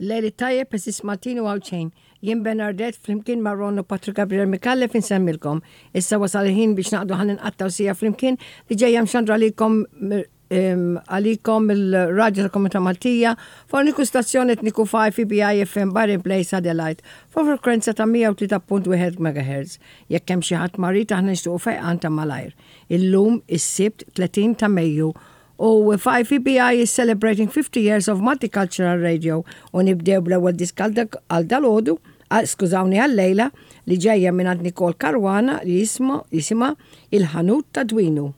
Lejl it-tajjeb għeżież Maltin u Għawdxin. Jien Bernardette flimkien ma' Ron u Patrick Gabriel Micallef insemmilkom. Issa wasal il-ħin biex naqdu ħalli nqattgħu siegħa flimkien li ġejja mxandra għalikom għalikom mill-Radju tal-Komunità Maltija fuq l-uniku stazzjon etniku 5 EBI FM Byron Place Adelaide fuq frekwenza ta' 103.1 MHz. Jekk hemm xi ħadd marid aħna nixtiequ fejqan ta' malajr. Illum is-Sibt 30 ta' Mejju u 5EBI is celebrating 50 years of multicultural radio u nibdew bl-ewwel disk għal dalgħodu, skużawni għal-lejla, li ġejja mingħand Nicole Caruana li jisimha Il-Ħanut ta' Dwinu.